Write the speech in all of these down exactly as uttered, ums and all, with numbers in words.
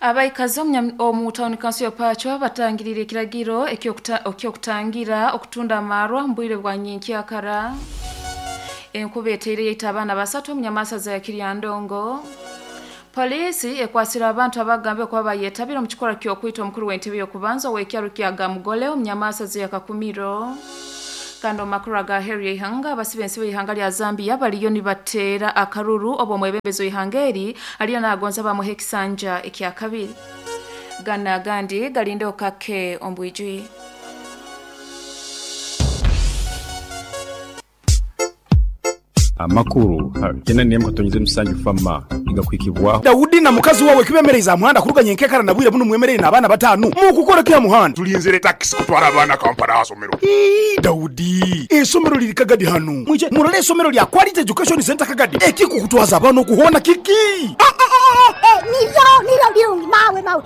Abaikazi omu town council ya Pachwa batangirire ekiragiro ekyokutangira okutunda amarwa mbwire bwa nyenkyakara. Enkuba eteire yaita abaana basatu omu nyamasa za Kiryandongo. Polisi ekwasira abantu abagambe kuba bayetabira omu kikorwa ky'okwita omukuru w'entebe y'okubanza ow'ekyaro kya Gamugole omu nyamasa za Kakumiro. Kandi omu makuru aga Harry Ihanga, abasibe ensibo y'ihanga lya Zambia baliyo nibateera akaruru obwo omwebembezi w'ihanga eri aliyo nagonza bamuha ekisanja ekya kabiri. Gana agandi galinde okake ombwijwi. Amakuru tena niye mukatonyeze musanju fama igakwikibwa Daudi na mukazi wawe kibemereza muhanda kuruganya enkekara na bwire buno mwemerere n'abaana batanu mukukora kya muhanda tulinzire taxi kutwara abaana Kampala asomero. Ii Daudi, esomero liri Kagadi hanu mwije murole esomero lya Quality Education Center Kagadi ekikukutwaza abaana okuhona kiki. Nivyo nivyo birungi mawe mawe.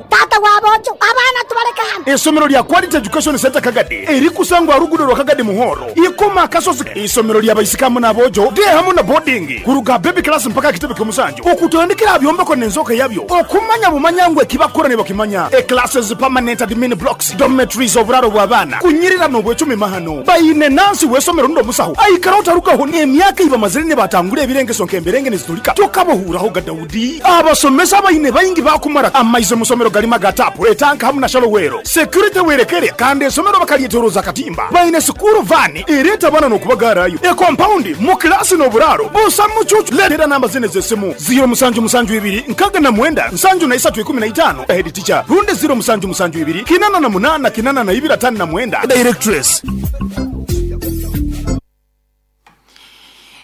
Tata wabojo abana tubaleka hano. Esomero lya Quality Education Center Kagadi erikusangwa rugudo rwa Kagadi Muhoro ikoma akasozi. Isomero lya baisikamu nabojo de hamu na boarding kuruga baby class mpaka kitebe kyomusanju okutandikira byombeko nenzoka yabyo okumanya bumanyangwe kibakora ne bakimanya e classes, permanent admin blocks, dormitories, oburaro bw'abaana kunyirira no bwecumi mahano bayine nansi wesomero ndo musaho aikara utarukaho emyaka iba mazire ne batangure ebirengeso nkemberenge nizitulika tokabohuraho ga Daudi. Abasomesa bayine bayingi bakumara amaize musomero galima gatapu etanka hamu na shalowero security werekere kandi esomero bakalietoroza katimba bayine sukuru vani ereta bana no kubagarayo e compound mu klasi no buraro busa mucucu. Letera namba zine zesimu zero musanju musanju ibiri nkaga na mwenda nsanju na isatu ikumi na itano head teacher runde zero musanju musanju ibiri kinana na munana kinana na ibiri atano na mwenda directress.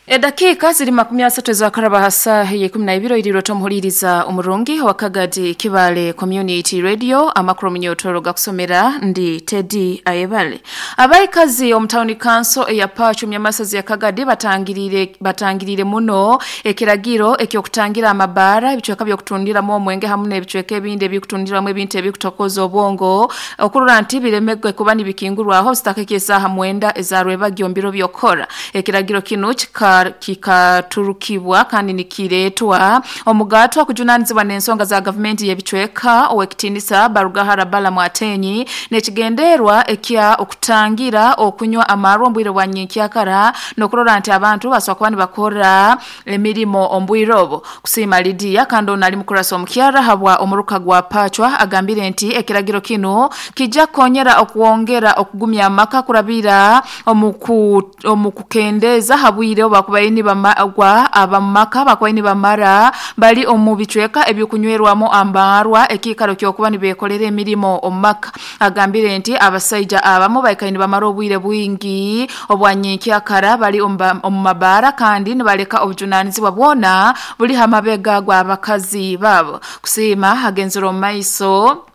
Edakika ziri makumi asatu za karaba hasa ye kumi na ibiri iriro tomuhuliriza umurungi wa Kagadi Kibale Community Radio amakuru minyotoro gakusomera ndi Teddy Ayebale. Abaikazi omu town council eya Pachu myamasazi ya Kagadi batangirire batangirire muno ekiragiro ekyokutangira amabara ebicweka byokutundiramu omwenge hamu n'ebicweka ebindi ebikutundiramu ebintu ebikutokoza obwongo okurura nti biremegwe kuba nibikingurwaho sitaka esaha mwenda ezarwebagyo mbiro byokora. Ekiragiro kino kika kikaturukibwa kandi nikiretwa omugato akujunanizibwa n'ensonga za government yebicweka owekitinisa Barugahara Bala Mwatenyi nekigenderwa ekya okutangira okunywa amarwa ombwire bwa nyenkyakara nokurora nti abantu baswa kuba nibakora emirimo ombwire obo. Kusiima Lydia kandi ono ali mukurasa omukyara habwa omuruka gwa Pachwa agambire nti ekiragiro kino kijja konyera okwongera okugumya amaka kurabira omuku omukukendeza habwire bakubaini bamagwa abamaka bakubaini bamara bali omu bicweka ebyokunywerwamo ambarwa ekikaro kyokuba nibekolera emirimo omumaka. Agambire nti abasaija abamu baikaini bamara obwire bwingi obwanyenkyakara bali omu mabara kandi nibaleka obujunanizibwa bwona buli hamabega gwa abakazi babo. Kusiima hagenzero maiso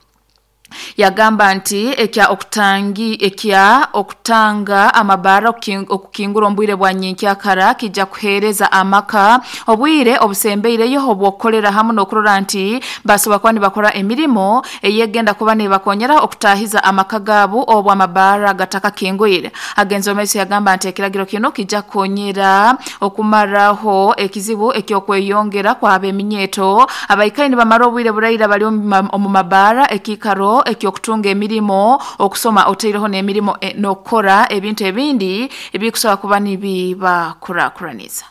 yagamba nti ekya okutangi ekya okutanga amabara okukingura ombwire bwa nyenkyakara kijja kuhereza amaka obwire obusembeireyo obwokolera hamu n'okurora nti basobola kuba nibakora emirimo eyegenda kuba nibakonyera okutahiza amaka gaabo obwo amabara gataka kingwire. Agenzo maiso yagamba nti ekiragiro kino kijja konyera okumaraho ekizibu ekyokweyongera kw'abeminyeto abaikaini bamara obwire buraira bali omu mabara ekikaro ekyokutunga emirimo okusoma oteireho n'emirimo e, nokora ebintu ebindi ebikusobola kuba nibibakurakuraniza.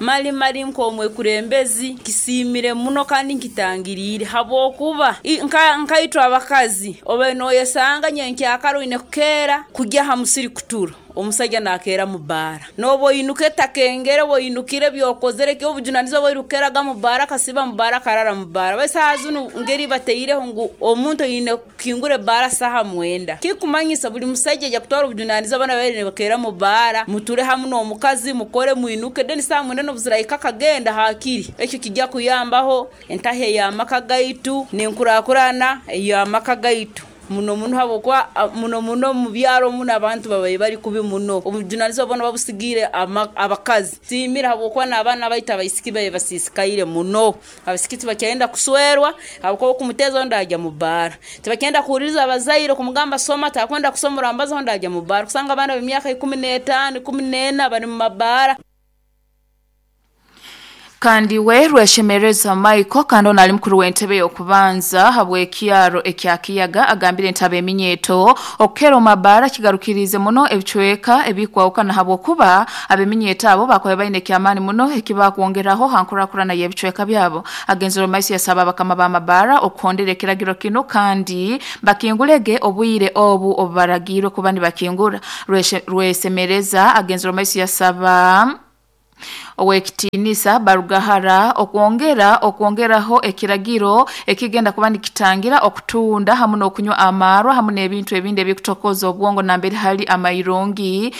Mali mali nkomwe kurembezi kisimire muno kandi nkitangirire habwokuba nka nkaitwa abakazi oba noyesanga nyenkyakaro ine kukera kujya ha musiri kutura omusajja nakera mu bara nobo inuke takengere wo inukire byokozere kyo obujunanizo bwo mu bara kasiba mu bara karara mu bara basazunu ngeri bateireho ngu omuntu ine kingure bara saha mwenda kikumanyisa buli musajja ja kutwara obujunanizo bana bere bakera mu bara muture hamu no mukazi mukore muinuke deni saha mwenda no buziraika kagenda hakiri ekyo kijja kuyambaho entahe ya maka gaitu nenkurakurana ya maka gaitu muno muno habokwa muno muno mu byaro muno abantu babaye bari kubi muno obujunanizo bona babusigire abakazi simira habokwa n'abana baita abaisiki baye basisikaire muno abasiki tibakyenda kuswerwa habokwa kumutezo ndajya mu bara tibakyenda kuhuriza abazaire kumugamba soma takwenda kusomora ambazo ndajya mu bara kusanga abana b'emyaka ikumi n'etaano ikumi n'ena bari mu mabara. Kandi we Rweshemereza Michael kandi ono ali mukuru w'entebe y'okubanza habw'ekyaro ekya Kiyaga agambire entebe eminyeto okukera omabara kigarukirize muno ebicweka ebikwawukana habwokuba abeminyeto abo bakobe baine ekyamaani muno ekibakwongeraho hankurakurana y'ebicweka byabo. Agenzero maisi yasaba abakama b'amabara okuhondera ekiragiro kino kandi bakingulege obwire obu obubaragirwe kuba nibakingura. Rwesemereza agenzero maisi yasaba owekitinisa Barugahara okwongera okwongeraho ekiragiro ekigenda kuba nikitangira okutunda hamu n'okunywa amarwa hamu n'ebintu ebindi ebikutokoza obwongo nambere hali amairungi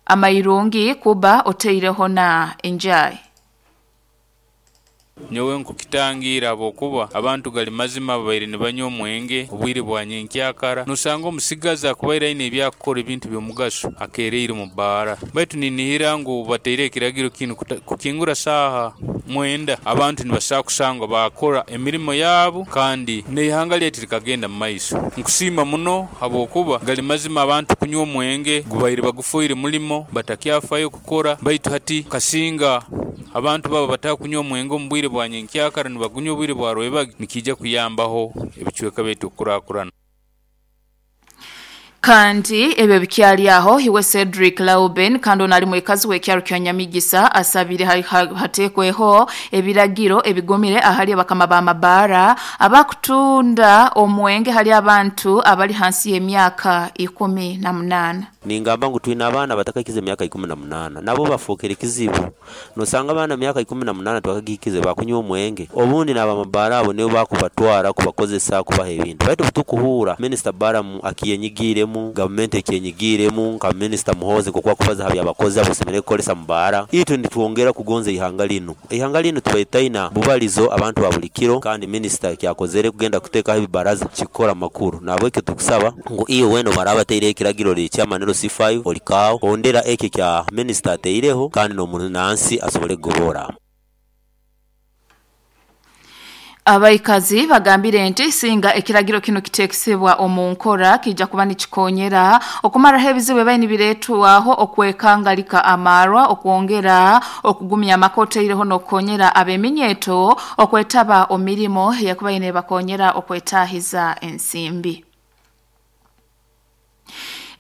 amairungi kuba oteireho na enjai. Nyowe nkukitangira abokuba abantu gali mazima babaire nibanywa omwenge obwire bwa nyenkyakara nosanga omusigazi akubaire aine ebyakukora ebintu by'omugaso akereire mu baara. Baitu ninihira ngu bateire ekiragiro kinu kukingura saaha mwenda abantu nibasaa kusangwa bakora emirimo yabo kandi n'eihanga lyaitu likagenda mu maiso. Nkusiima muno habwokuba gali mazima abantu kunywa omwenge gubaire bagufoire mulimo batakyafayo kukora, baitu hati kasinga abantu baba batakunywa omwenge omu bwire bwa nyenkyakara nibagunywa obwire bwa rwebagi nikija kuyambaho ebicweka byaitu okukurakurana. Kandi ebyo bikyali aho hiwe Cedric Lauben kandi ono ali mwekazi w'ekyaro kya Nyamigisa asabire hatekweho ebiragiro ebigumire ahali abakama b'amabara abakutunda omwenge hali abantu abali hansi y'emyaka ikumi na munana. Ningamba ngu twina abaana batakakize emyaka ikumi na munana nabo bafokere kizibu. Nosanga abaana emyaka ikumi na munana twakagikize bakunywa omwenge obundi n'abamabara abo nibo bakubatwara kubakozesa kubaha ebintu. Baitu butukuhura Minister Baramu akiyenyigiremu, gavumenti ekiyenyigiremu nka Minister Muhozi kokwa kubaza habya abakozi abasemere kukolesa mubara. Itu nitwongera kugonza ihanga lino. Ihanga lino tubaitaina bubalizo abantu ba buli kiro kandi minister kyakozere kugenda kutekaho ebibaraza kikora makuru. Nabwekyo tukusaba ngu iyo weno baraba teire ekiragiro ly'ekyamaniro C five olikao ondera eke kya minister ateireho kandi n'omunansi asobole kugobora. Abaikazi bagambire nti singa ekiragiro kino kitekesebwa omu nkora kijja kuba nikikonyera okumaraho ebizibu ebibaire nibireetwaho okwekangalika amarwa okwongera okugumya amakoteireho n'okukonyera abeminyeto okwetaba omirimo yakuba ine bakonyera okwetahiza ensimbi.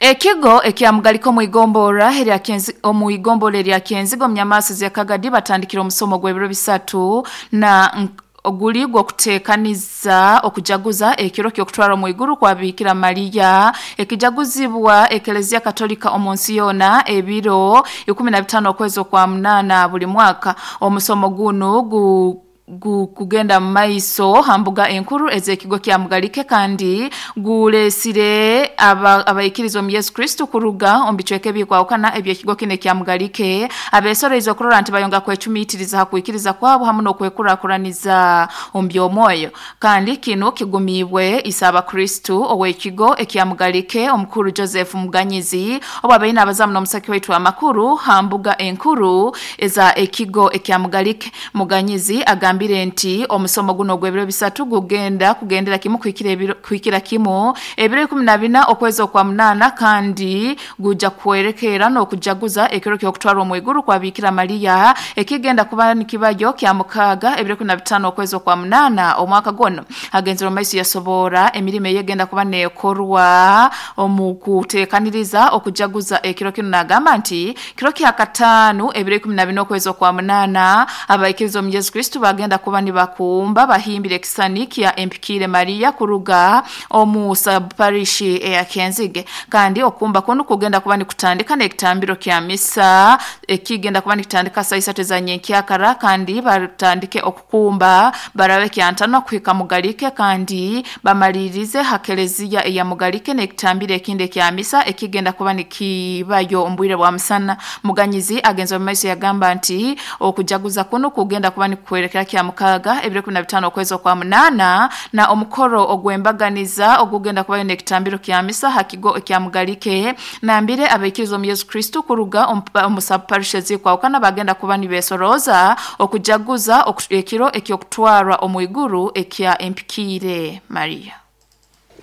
Ekigo ekyamugaliko muigombora erya Kenzi omuigombora erya Kenzigo mnyamaso ya Kagadi batandikira omusomo gw'ebiro bisatu na oguli gwo kuteekaniza okujaguza ekiro ky'okutwara mu iguru kwa Bikira Maria ekijaguzibwa Eklezia Katolika omunsi yona ebiro ikumi na bitano okwezi kwa munana buli mwaka. Omusomo guno gu kugenda maiso hambuga enkuru ezekigo kya mugalike kandi gulesire abayikirizwa mu Yesu Kristo kuruga ombicweke bikwawukana ebyekigo kine kya mugalike abesoreizo kurora nti bayonga kwecumitiriza hakwikiriza kwabo hamu nokwekurakuraniza ombyomoyo. Kandi kino kigumibwe isaba Kristo owekigo ekya mugalike omukuru Joseph Muganyizi obabeina abazamu n'omusaki waitu amakuru hambuga enkuru eza ekigo ekya mugalike. Muganyizi agambire nti omusomo guno gw'ebiro bisatu gugenda kugendera kimu kuhikira ebiro kuhikira kimu ebiro ikumi na bina okwezi kwa munana kandi guja kwerekera no kujaguza ekiro ky'okutwara mu iguru kwa Bikira Maria ekigenda kuba nikibayo kya mukaga ebiro ikumi na bitano okwezi kwa munana omwaka gono. Agenzero maiso yasobora emirimo yegenda kuba nekorwa omu kutekaniriza okujaguza ekiro kino nagamba nti kiro kya katanu ebiro ikumi na bina okwezi kwa munana abaikirizo mu Yesu Kristo bagenda kuba nibakumba bahimbire ekisani kya Empikire Maria kuruga omu subparish eya Kenzige. Kandi okumba kuno kugenda kuba nikutandika n'ekitambiro kya misa ekigenda kuba nikutandika saa isatu za nyenkyakara kandi batandike okukumba barabe kyantano kuhika mugalike kandi bamalirize hakelezia eya mugalike n'ekitambiro ekindi kya misa ekigenda kuba nikibayo ombwire bwa musana. Muganyizi agenza mu maiso yagamba nti okujaguza kuno kugenda kuba nikwerekera kya mukaga ebiro kumi na bitano okwezi kwa munana na omukoro ogwembaganiza ogugenda kubayo n'ekitambiro kya misa hakigo ekya mugalike nambire abaikirizo mu Yesu Kristo kuruga omu subparishes kwawukana bagenda kuba nibesoroza okujaguza ekiro ekyokutwarwa omu iguru ekya Empikire Maria.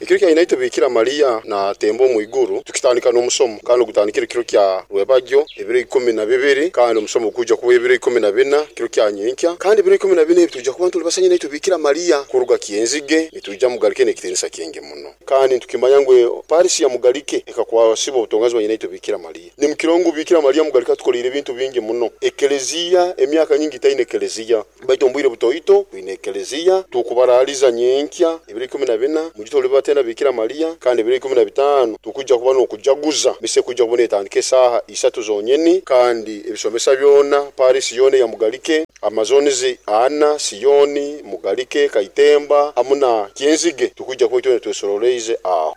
Ekiro kya nyinaitwe Bikira Maria natemba omwiguru tukitandika n'omusomo kandi ogutandikire ekiro kya rwebagyo ebiro ikumi na bibiri kandi omusomo gukuja kuba ebiro ikumi na bina kiro kya nyenkya kandi ebiro ikumi na bina ebi tuja kuba ntuli basa nyinaitwe Bikira Maria kuruga Kyenzige nituja Mugalike n'ekitinisa kingi muno kandi ntukimanya ngu Parisi ya Mugalike ekakwasiba obutongazi bwa nyinaitwe Bikira Maria. Ni mukirongo Bikira Maria Mugalike atukolire ebintu bingi muno. Ekelezia emyaka nyingi taine ekelezia baitu ombwire butoito twine ekelezia tukubaraliza nyenkya ebiro ikumi na bina mugitoli batena Bikira Maria kandi ebiro ikumi na bitano tukuja kuba n'okujaguza mise kuja kubona etandika esaaha isatu zonyeni kandi ebisomesa byona Parisi yona ya Mugalike Amazonizi ana Siyoni Mugalike Kaitemba hamuna Kyenzige tukuja kuba itwe twesoroleize aho.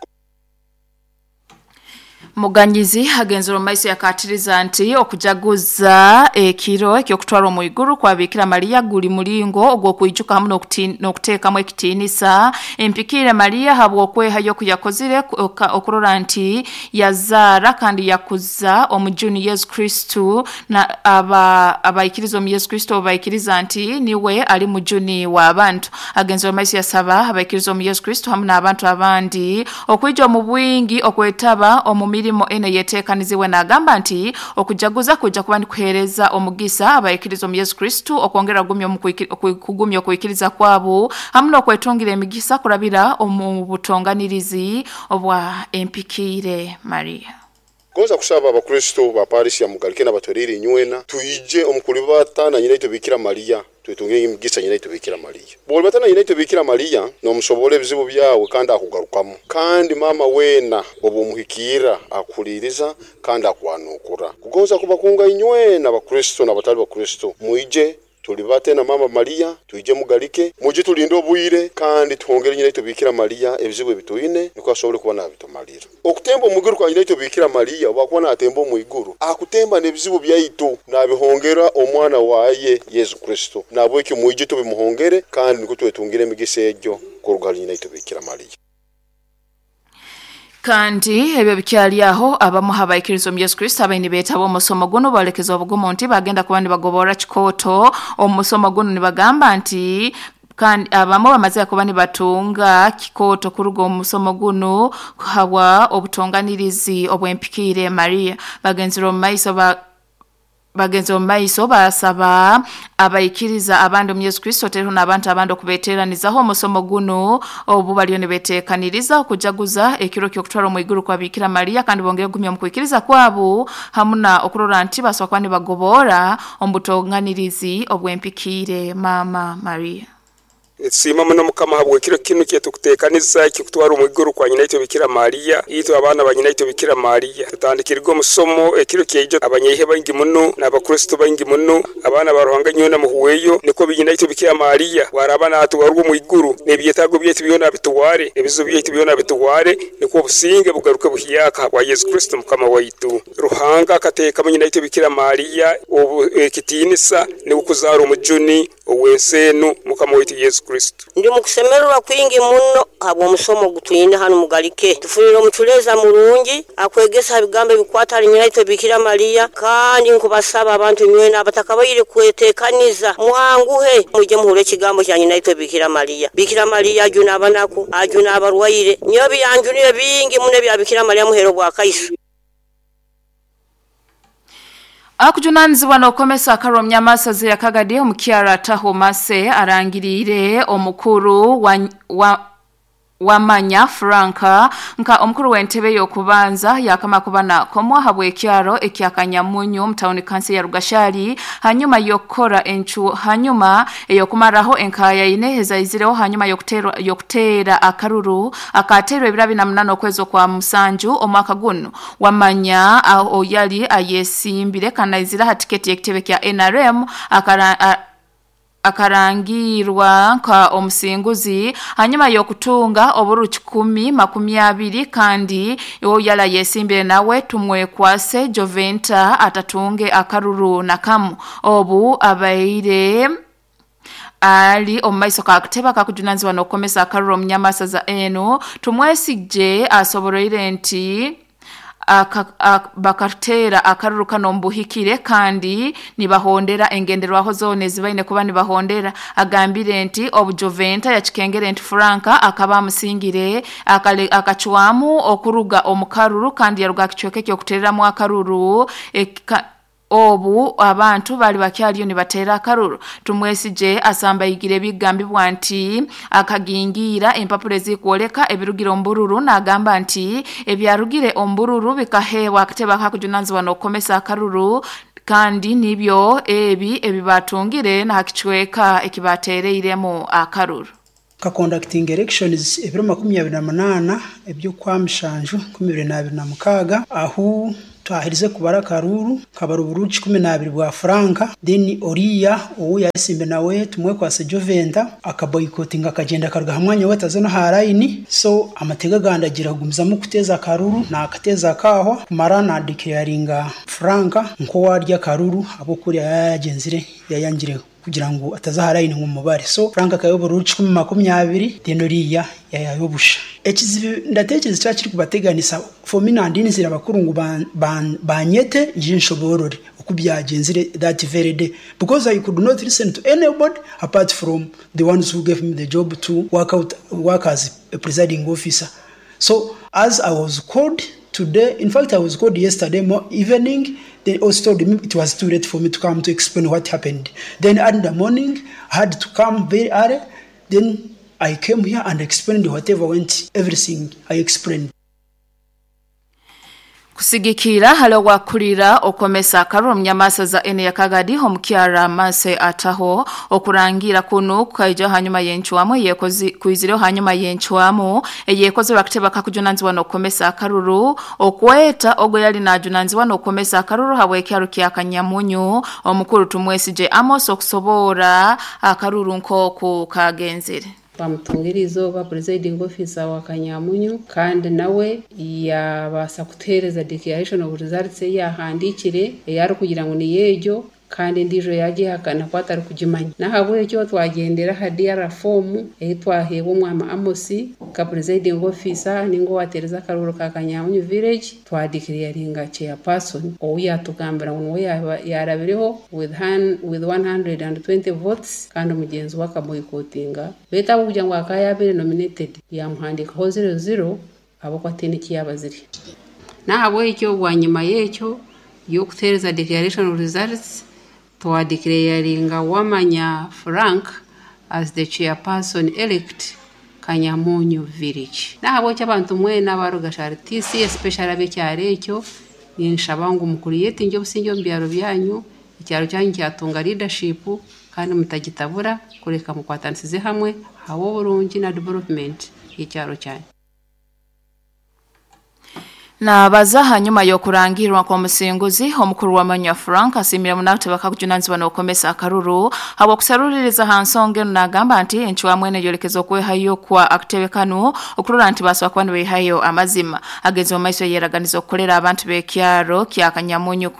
Muganyizi agenzero maiso yakatiriza nti okujaguza ekiro ekyokutwara omwiguru kwa Bikira Maria guli mulingo ogw'okwijuka hamwe n'okuteekamu ekitiinisa empikire Maria habw'okwehayo kuyakozire okurora nti yazaara kandi yakuza omujuni Yesu Kristo na aba abaikiriza omu Yesu Kristo baikiriza nti niwe ali mujuni w'abantu. Agenzero maiso yasaba abaikiriza omu Yesu Kristo hamwe n'abantu abandi okwija omu bwingi okwetaba omu mirimo ene yetekaniziwe n'agamba nti okujaguza kuja kuba nikuhereza omugisa abaikiriza omu Yesu Kristo okwongera kugumya kugumya okuikiriza kwabo hamwe n'okwetungira emigisa kurabira omu butonganirizi obwa empikire Maria. Goza kusaba abakristo ba Parisi ya Mugalike n'abatwerire inywena tuije omukulibata na nyinaitwe Bikira Maria twetunge emigisa nyinaitwe Bikira Maria. Bw'olibatana nyinaitwe Bikira Maria n'omusobola ebizibu byawe kandi akugarukamu kandi mama wena obumuhikira akuliriza kandi akwanukura. Kugonza kubakunga inywena abakristo n'abatali bakristo muije tulibate na mama Maria tuije Mugalike muje tulinde obwire kandi tuhongere nyinaitwe Bikira Maria ebizibu ebituine niko asobole kuba nabitumalira. Okutemba omuguru kwa nyinaitwe Bikira Maria wakuba natemba omwiguru akutemba n'ebizibu byaitu nabihongera omwana waye Yesu Kristo nabwekyo muje tubimuhongere kandi niko twetungire emigisa egyo kuruga nyinaitwe Bikira Maria. Kandi ebyo bikyali aho abamu habaikiriza omu Yesu Kristo abaini beetaba omusomo guno balekeza obugumu nti bagenda kuba nibagobora kikoto omusomo guno nibagamba nti kandi abamu bamaze kuba nibatunga kikoto kuruga omusomo guno habwa obutonganirizi obw'empikire Maria. Bagenzera omu maiso ba Bagenzi omaiso basaba abaikiriza abandi omu Yesu Kristo teru n'abantu abandi okubeteranizaho omusomo guno obu baliyo nibeteekaniriza okujaguza ekiro ky'okutwara omwiguru kwa Bikira Maria kandi bongere kugumya mu kwikiriza kwabo hamwe na okurora nti basobola kuba nibagobora omu butonganirizi obw'empikire Mama Maria. Sima muno mukama habwe kiro kinu kyetukuteekaniza ekikutwara omwiguru kwa nyinaitwe Bikira Maria itwe abaana ba nyinaitwe Bikira Maria tutandikirwe omusomo ekiro kyeijo abanyaihe baingi muno n'abakristo baingi muno abaana ba Ruhanga nyona muhuweyo niko binyinaitwe Bikira Maria waraba natwarwa omwiguru n'ebyetaago byaitu byona bituware ebizibu byaitu byona bituware niko obusinge bugaruke buhiyaka bwa Yesu Kristo mukama waitu. Ruhanga akateeka nyinaitwe Bikira Maria ekitiinisa n'okuzaara omujuni ow'enseenu mukama waitu Yesu Kristo. Ndi mukusemererwa kwingi muno habwo omusomo gutwine hano Mugalike tufunire omuculeza murungi akwegesa ebigambo ebikwata ali nyinaitwe Bikira Maria kandi nkubasaba abantu nywena abatakabaire kwetekaniza mwanguhe muje muhure ekigambo kya nyinaitwe Bikira Maria. Bikira Maria ajuna abanaku ajuna abarwaire nyo byanjuniye bingi muno bya Bikira Maria muhero bwa Kaisu. Akujunanizibwa n'okomesa akaromya masazi ya Kagadi omukyara Taho Mase arangirire omukuru wa, wa wamanya Franka nka omukuru w'entebe y'okubanza yakama kuba nakomwa habw'ekyaro ekyakanyamunyu mu tawuni kansi ya Rugashari hanyuma yokora enchu hanyuma eyokumaraho enkaya ine ezaizireho hanyuma yokutera yokutera akaruru akaterwa ebirabi na munana okwezo kwa musanju omwaka guno wamanya aho yali ayesimbire kanaizira hatiketi y'ekitebe kya N R M akara a, akarangirwa nka omusinguzi hanyuma yokutunga oburu kikumi makumi abiri kandi yo yala yesimbire nawe tumwekwase Joventa atatunge akaruru nakamu obu abaire ali omaiso kakuteba kakujunanzibwa n'okukomesa akaruru omunyamasaza eno tumwesije asoboroire nti Aka, bakatera akaruru kano mbuhikire kandi nibahondera engenderwaho zone zibaine kuba nibahondera. Agambire nti obujoventa yakikengere nti Franka akaba amusingire akachwamu okuruga omukaruru kandi yaruga kichweke kyo kutereramu akaruru eka, obu abantu bali bakyaliyo nibatera akaruru. Tumwesije asamba igire bigambibwa nti akagingira empapuro ezikuoleka ebirugire ombururu nagamba nti ebyarugire ombururu bikahewa akateba kakujunanzibwa n'okukomesa akaruru kandi nibyo ebi ebibatungire na hakichweka ekibatereiremu akaruru. Ka conducting elections ebiro makumi abiri na munana eby'okwa mushanju nkumi ibiri na abiri na mukaaga ahu twahirize kubara akaruru kabara obururu kikumi n'abiri bwa Franka. Then oriya owu yasimbe nawe tumwekwase Joventa akaboycottinga akagenda akaruga hamwanya we ataze no ha line. So amatega gandagira kugumizamu kuteza akaruru nakateza akaho kumara na declaringa Franka nko warya akaruru abokurya yayagenzire yayangire kugira ngo ataza line mu mubare. So Franka akayobora kikumi makumyabiri then oriya yayayobusha. Ekizibu ndatekereza cyakiri kubateganisa for me nandinzira abakuru ngo banyete nje nshoborore uko byagenzire that very day, because I could not listen to anybody apart from the ones who gave me the job to work out work as a presiding officer. So as I was called today, in fact I was called yesterday evening, they also told me it was too late for me to come to explain what happened. Then in the morning I had to come very early, then I came here and explained whatever went, everything I explained. Kusigikira halo wakulira okomesa akaruru mnyamasa za ene ya Kagadi homukyara mase ataho okurangira kunu kaija hanyuma yenchwamo yekozi kuizireo hanyuma yenchwamo yekoze bakiteba kakujunanzibwa nokomesa akaruru okweta ogo yali najunanzibwa nokomesa akaruru habwekyaru kya Kanyamunyu omukuru Tumwesije Amos okusobora akaruru nkoku kagenzire. Bamutungirizo ba presiding officer wa Kanyamunyu kandi nawe yabasa kutereza declaration of results yahandikire yari kugira ngo ni yejo kandi ndijo yagihakana kwatari kugimanya. Nahabwekyo twagendera ha D R form ehitwahebwa omwama Amosi ka presiding officer ningo watereza akaruru ka Kanyamunyu village twadeclaringa chairperson owu yatugambira ngo yarabireho with hand, with one hundred twenty votes kandi mugenzi wakaboycottinga beta kugira ngo akayabere nominated yamuhandikaho zero zero abo kwatene kiyabaziri. Nahabwekyo bwanyuma yekyo yokutereza declaration of results twadeclaringa Wamanya Frank as the chairperson elect Kanyamunyu village. Nahabwekyo abantu mwena baruga T C especially abekyaro ekyo ninshaba ngu mukuriyete nje obusinge omu byaro byanyu ekyaro kyanyu kyatunga leadership kandi mutagitabura kureka mukwatanisize hamwe hawo oburungi na development y'ekyaro kyanyu. Na baza nyuma yokurangirwa kwa musinguzi omukuru wa Manya Frank asimira munakute bakakujunanzibwa n'okomesa akaruru habwa kusaruliriza hansonge nagamba nti enchwa mwene yolekezo kwehayo kwa akitebe kanu okurora nti baswa kuba nibehayo amazima agenze mu maiso yeraganiza okukolera abantu b'ekyaro kya Kanyamunyu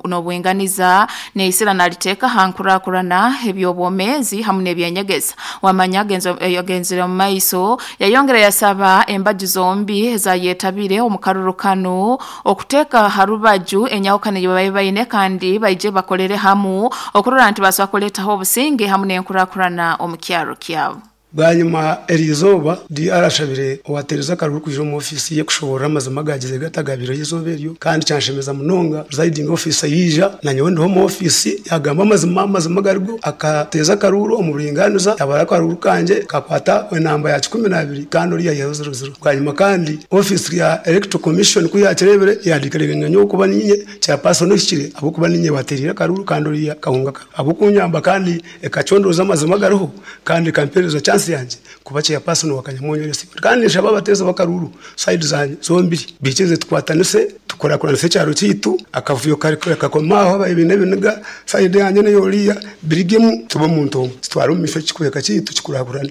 n'obwenganiza neisira naliteka hankurakurana ebyobwomezi hamwe n'ebyenyegeza wamanya agenze agenzire mu maiso yayongera yasaba embaju zombi zayetabire omukaruru kano okuteka harubaju enyawukane babaye bayine kandi baije bakolere hamu okurora nti baswa kuletaho obusinge hamu n'enkurakurana omukyaro kyabo. Bwanyuma erizoba D R ashabire owatereza akaruru kuja mu ofisi ye kushobora amazima gagize gatagabiro y'izoba eryo kandi cyanshemeza munonga presiding officer yija na nyowe ndiho mu ofisi yagamba amazima amazima garigo akateza akaruru omu buringaniza yabara akaruru kanje kakwata enamba ya cumi na abiri kandi oriya ya zero zero. Bwanyuma kandi office ya electoral commission ku yakirebere yadikarenganya nyo kuba ninye chairperson oshikire abo kuba ninye baterira akaruru kandi oriya kahunga abo kunyamba kandi ekachondoza amazima gariho kandi kampereza chance yanje kuba chairperson wa Kanyamunyu yose kandi nshaba bateza bakaruru side zanje zombiri bikize tukwatanise tukorakuranise cyaro cyitu akavuyo kari kakomaho abayibine biniga side yanje ne yoriya birigemu tuba muntu twara mu misho kikweka cyitu kikurakurana.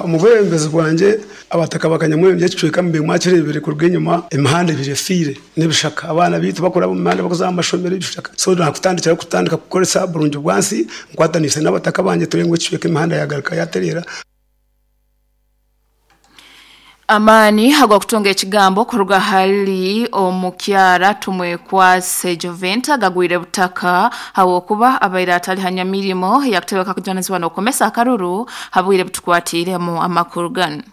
Umubembezi bwanje abataka bakanyamwe byacweka mbe mwakirebere ku rwenyuma imihanda ibiri fire nibishaka abana bitu bakora mu mihanda bakoza amashomero ibishaka so nakutandikira kutandika kukoresa burungi bwansi nkwatanise n'abataka banje turengwe cweka imihanda yagaruka yaterera. Amani ag'okutunga ekigambo kuruga hali omukyara Tumwekwase Joventa gagwire butaka habwokuba abaire atali hanyamirimo yakutebeka kujanizibwa n'okumesa akaruru habwire butukwatiremu amakuru ganu.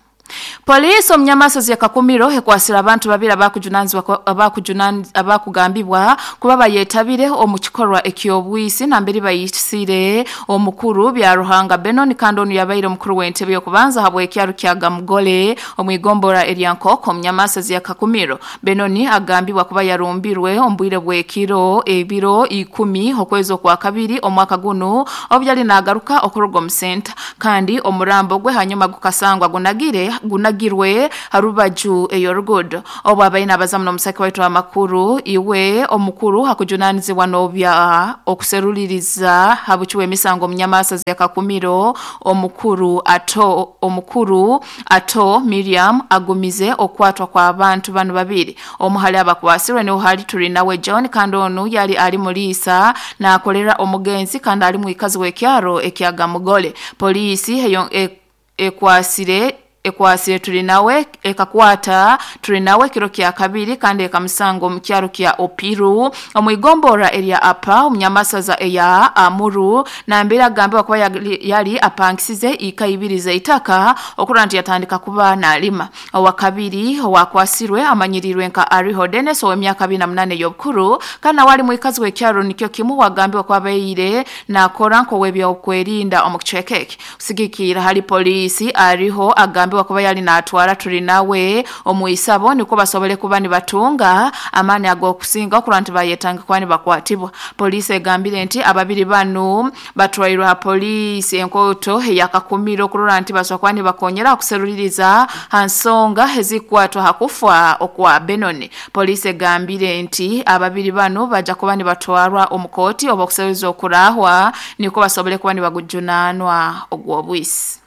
Polisi omunyamasozi ya Kakumiro ekwasira abantu babiri abakujunanizibwa abakujunan abakugambibwa kuba bayetabire omu kikorwa ekyobwisi namberi bayisire omukuru bya Ruhanga Benon kandi onu yabaire omukuru w'entebe y'okubanza habw'ekyaro kya Gamugole omwigombora erya Nkoko omunyamasozi ya Kakumiro. Benoni agambibwa kuba yarumbirwe ombwire bw'ekiro ebiro ikumi okwezi okwa kabiri omwaka guno obu yali nagaruka okuruga omu senta kandi omurambo gwe hanyuma gukasangwa gunagire gunagirwe harubaju eyorugudo. Obu abaina abazamu n'omusaki waitu amakuru iwe omukuru hakujunanizibwa n'obya okuseruliriza habukiwe emisango omunyamasozi ya Kakumiro omukuru ato omukuru ato Miriam agumize okwatwa kwa abantu bano babiri. Omuhali abakwasirwe niho hali turi nawe John kandi onu yali ali mulisa nakolera omugenzi kandi ali muikazi w'ekyaro ekyagamugole. Polisi eyo ekwasire ekwasire turi nawe ekakwata turi nawe kiro kya kabiri kandi ekamusango mu kyaro kya Opiru omwigombora erya apa omunyamasaza eya Amuru nambera agambibwa kuba yali apangisize ikaibiriza itaka okura nti yatandika kuba nalima. Owa kabiri owakwasirwe amanyirirwe nka Ariho Dennis ow'emyaka abiri na munane y'obukuru kandi nawe ali muikazi w'ekyaro nikyo kimu wagambibwa kuba abaire nakora nk'ow'ebyokwerinda omu kicweka. Kusigikira hali polisi Ariho agambibwa kuba yali natwara turi nawe omuisabo niko basobole kuba nibatunga amani agokusinga okura nti bayetanga kuba nibakwatibwa. Polisi egambire nti ababiri bano batwairwe ha polisi enkoto eyakakumiro okurora nti basobola kuba nibakonyera okuseruliriza ha nsonga ezikwatwa hakufa okwa Benoni. Polisi egambire nti ababiri bano baja kuba nibatwarwa omukooti oba okuseruliza okurahwa niko basobole kuba nibagujunanwa ogw'obwisi.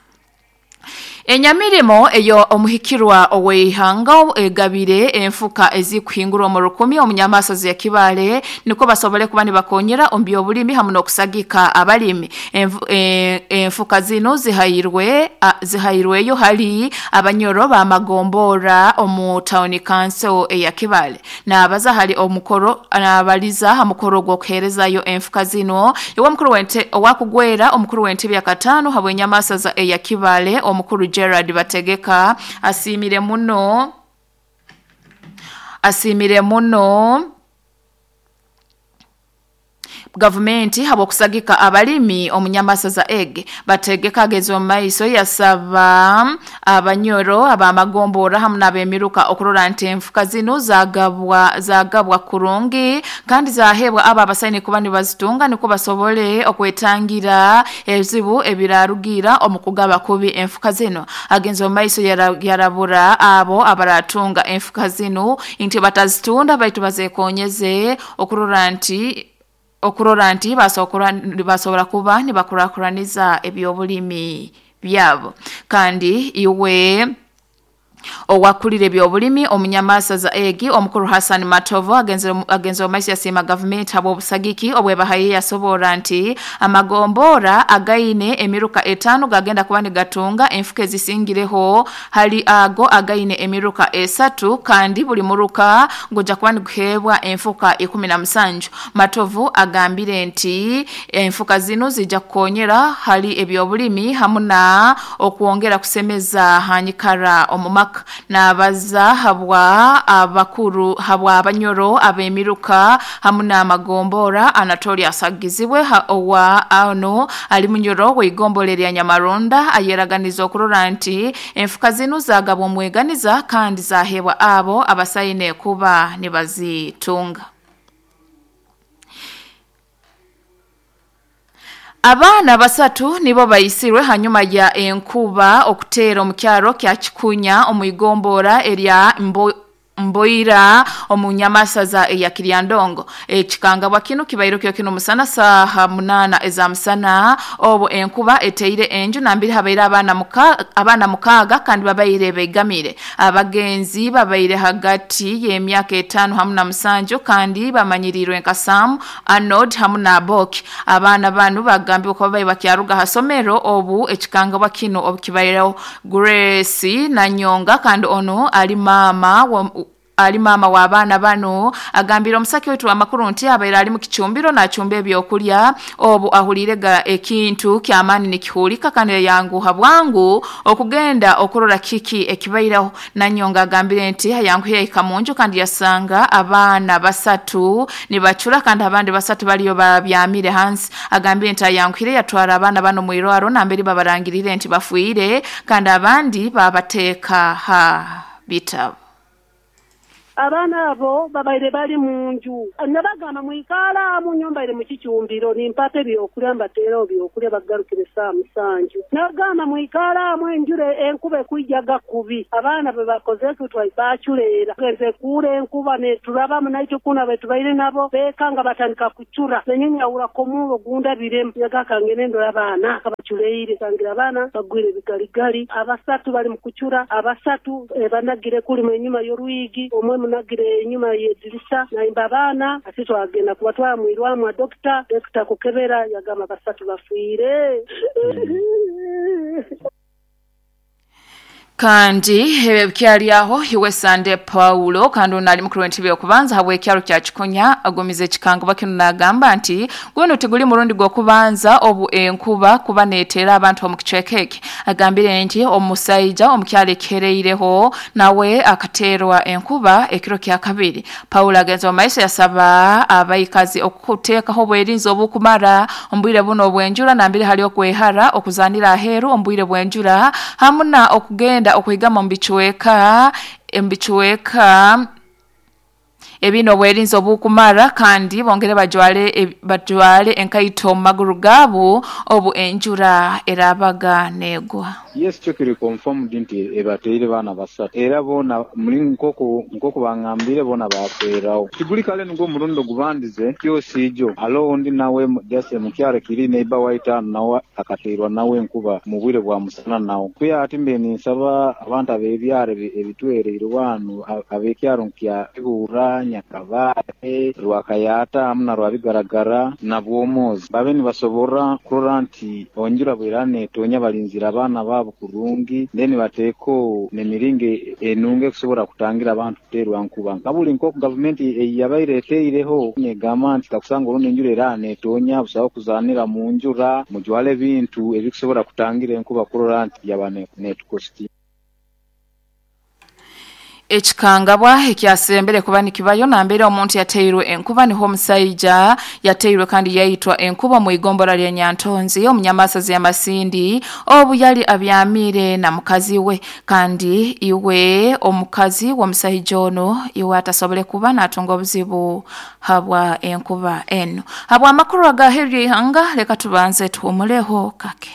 Enyamirimo eyo omuhikirwa oweihanga egabire enfuka ezikuhingurwa mu rukumi omunyamasozi ya Kibale niko basobole kuba nibakonyera ombyobulimi hamwe n'okusagika abalimi. Enfu, e, enfuka zino zihayirwe zihayirweyo hali abanyoro bamagombora omu town council eya Kibale. Nabaza hali omukoro nabaliza ha mukoro gw'okuherezayo enfuka zino iwe omukuru wente owakugwera omukuru w'entebe ya katano habwe enyamasaza eya Kibale omukuru Gerard Bategeka asimire muno asimire muno gavumenti habwokusagika abalimi omunyamasaza ege. Bategeka ageze mu maiso yasaba abanyoro abamagombora hamwe n'abemiruka okurora nti enfuka zino zagabwa zagabwa kurungi kandi zahebwa aba abasaini kuba nibazitunga niko basobole okwetangira ebizibu ebirarugira omukugaba kubi enfuka zino. Agenze mu maiso yarabura abo abaratunga enfuka zino nti batazitunda baitu bazekonyeze okurora nti okurora nti basobora kuba nibakurakuraniza ebyobulimi byabo. Kandi iwe owakulire ebyobulimi omunyamasaza egi omukuru Hassan Matovo agenze agenze omaisi yasima government habo obusagiki obwebahaye yasobora nti amagombora againe emiruka etano gagenda kuba nigatunga enfuka ezisingireho hali ago againe emiruka esatu kandi buli muruka ngoja kuba niguhebwa enfuka ikumi na musanju. Matovu agambire nti enfuka zino zijja kukonyera hali ebyobulimi hamwe na okwongera kusemeza hanyikara omumaka. Nabaza habwa abakuru habwa abanyoro abemiruka hamwe n'amagombora Anatolia Sagizibwe owa ano ali munyoro w'igombolera lya Nyamaronda ayeraganiza okurora nti enfuka zino zagabwa omweganiza kandi zahebwa abo abasaine kuba nibazitunga. Abaana basatu nibo bayisirwe hanyuma ya enkuba okuteera omukyaro kya Kikunya omuigombora erya mbo Mboira omunyamasaza ya Kiryandongo. Ekikangabwa kino kibairo kyo kino musana saha munana eza musana obo enkuba eteire enju nambiri habaire abana muka abana mukaga kandi babaire begamire. Abagenzi babaire hagati y'emyaka etano hamu na musanju kandi bamanyirirwe nka Sam Arnold hamu na Boki. Abana banu bagambye ko babaye bakyaruga hasomero obu ekikangabwa kino obukibaireo Grace na Nyonga kandi ono ali mama wa ali mama wa abana bano agambira omusaki wetu amakuru nti abaira ali mu kichumbiro na chumbe ebyokulya obu ahulirega ekintu kyamani nikihulika kandi yanguha bwangu okugenda okurora kiki ekibairaho. Nanyonga agambire nti yanguhiye ikamunju kandi yasanga abana basatu nibachura kandi abandi basatu baliyo babyamire hansi. Agambire nti yanguhire yatwara abana bano mu irwaro nambere babarangirire nti bafuire kandi abandi babateka ha bitabo. Abana abo babaire bali munju nabagamba mwikala mu nyumba ire mu kicumbiro nimpate byokulya mbatera byokulya bagarukire saa musanju. Nabagamba mwikala mu enjure enkube kuijaga kubi abaana be bakoze tutwa bachulera genze kure enkuba ne turaba munaito kuna betubaire nabo bekanga batandika kuchura nenyenya urakomulo gunda biremu yagaka ngenendo y'abaana abachuleire tangira abana bagwire bigaligali abasatu bali mu kuchura abasatu e, banagire kuli mu nyuma y'oruigi omwe munagire enyuma yedirisa na imbabana ati twagenda kubatwara mu irwamu doctor doctor kukebera yagamba basatu bafuire. Kandi kyali aho hiwe Sande Paulo kandi onali mukuru w'entebe okubanza habwe ekyalo kya Kikonya agomize ekikangabwa kino nagamba nti guno teguli murundi gw'okubanza obu enkuba kuba neetera abantu omu kicweka eki. Agambire nti omusajja omukyalo ekereireho nawe akateerwa enkuba ekiro kya kabiri. Paulo agenza mu maiso yasaba abaikazi okuteekaho obwerinzi obukumara ombwire buno obwenjura nambire hali okwehara okuzanira aheeru ombwire bwenjura hamu na okugenda okuhigama mbichweka mbichweka ebino obwerinzi obukumara kandi bongere bajwale bajwale enkaito maguru gabo obu enjura erabaga negwa. Yes, kyo kiri confirmed nti ebateire bana basatu era bona muri nkoko nkoko bangambire bona bakwerawo kiguli kale ngo murundo gubandize kyo sijo alo ndi nawe just mukyare kiri neighbor white nawe akateirwa nawe nkuba mu bwire bwa musana nawo kuya ati mbe nsaba abantu abebyare ebitwere irwanu abekyaro kya ibura Nyakabare Rwakayata amuna rwabigaragara na bwomozi babe nibasobora kurora nti onjura bwirane tonya balinzira abana babo kurungi then bateko nemiringe enunge kusobora kutangira abantu kuterwa nkuba nkabuli nko government yabaire eteireho negama nti takusanga orundi enjura erane tonya busaho kuzanira mu njura mujwale bintu ebikusobora kutangira enkuba kurora nti yabane netukosti. Ekikangabwa ekyasembere kuba nikibayo nambere omuntu yateirwe enkuba niho omusajja yateirwe kandi yaitwa enkuba mu igombora lya Nyantonzi omunyamasazi ya Masindi obu yali abyamire na mukazi we kandi iwe omukazi w'omusajja ono iwe atasobole kuba natunga obuzibu habwa enkuba eno. Habwa amakuru agaheri ihanga leka tubanze tuhumuleho kake.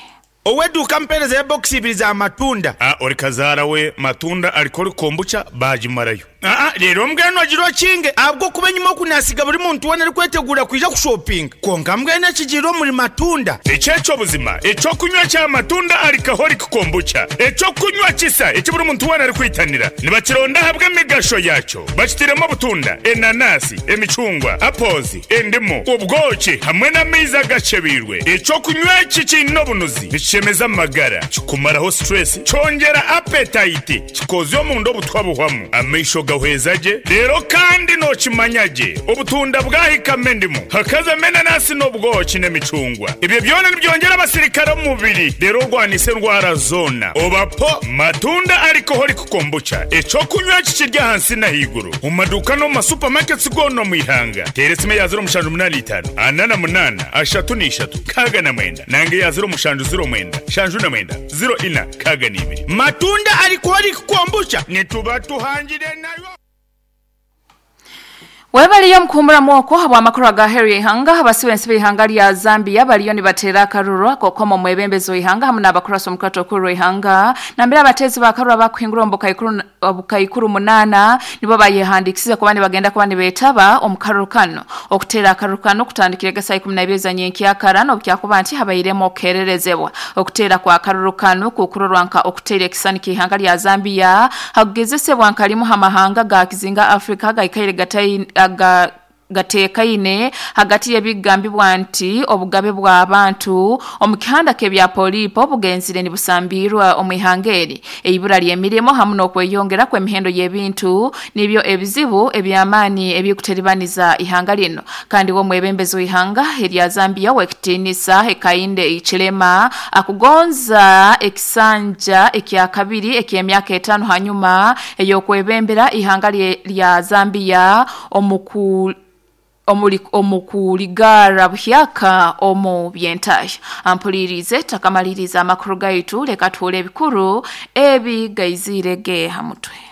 Oweduka mpereza ya box ibiri za matunda. Ah, ori kazara we matunda alikori kombucha bajimarayo. Ah ah, rero mbweno agiro kinge abwo kubenyuma okunasiga buri muntu wona ari kwetegura kuja ku shopping. Konka mbwene kigiro muri matunda. Echecho buzima, echo kunywa cha matunda alikahori kombucha. Echo kunywa kisa, echo buri muntu wona ari kwitanira. Nibakironda habwe migasho yacho. Bakitiremo butunda, enanasi, emicungwa, apples, endimu, ubwoki hamwe n'amaizi gachebirwe. Echo kunywa kikino bunuzi. Chemeza magara, kikumaraho stress, chongera appetite, kikozyo omundu obutwabuhwamu, amaisho gahwezaje, rero kandi no kimanyaje, obutunda bwahikame endimu, hakaza menanasi n'obwoki n'emicungwa. Ibyo byona nibyongera abasirikare mu mubiri, rero rwanise ndwara zona. Obapo matunda alcoholic kombucha, echo kunywa kikirya hansi na higuru. Mu maduka no mu supermarkets gono mu ihanga. Teresime ya zero mushanju munani itanu, anana munana, ashatu n'ishatu, kaga na mwenda, nange ya zero mushanju zero mwenda, shanju na mwenda, zero ina, kaga n'ibiri. Matunda alcoholic kombucha, nituba tuhangire nayo. Webaliyo mkuhumura okwo habw'amakuru aga Harry Ihanga abasibe ensibe ihanga lya Zambia baliyo nibatera akaruru akokoma omwebembezi w'ihanga hamwe n'abakurasa omukurato okuru w'ihanga nambere abatezi b'akaruru abakuhingura omu bukaikuru obukaikuru munana nibo bayehandikisize kuba nibagenda kuba nibeetaba omu karuru kano. Okuteera akaruru kano kutandikire gesa ikumi na ibiri za nyenkyakara n'obukyakuba nti habairemu okukererezebwa. Okuteera kwa karuru kano kukurorwa nka okuteera ekisani ky'ihanga lya Zambia hakugezesebwa nka limu hamahanga ga kizinga Afrika gaikaire gatai aga gatekaine hagati y'ebigambibwa nti obugabe bw'abantu omu kihanda k'ebya polipo bugenzire nibusambirwa omu ihanga eri. Eibura ly'emirimo hamwe n'okweyongera kw'emihendo y'ebintu nibyo ebizibu eby'amaani ebikuteribaniza ihanga lino. Kandi w'omwebembezi w'ihanga erya Zambia w'ekitiinisa Hakainde Hichilema akugonza ekisanja ekya kabiri eky'emyaka etaano hanyuma ey'okwebembera ihanga lya Zambia omuku omukuligara buhyaka omu byentaya. Ampulirize takamaliriza amakuru gaitu leka tuule ebikuru ebi gaizire ge hamutwe.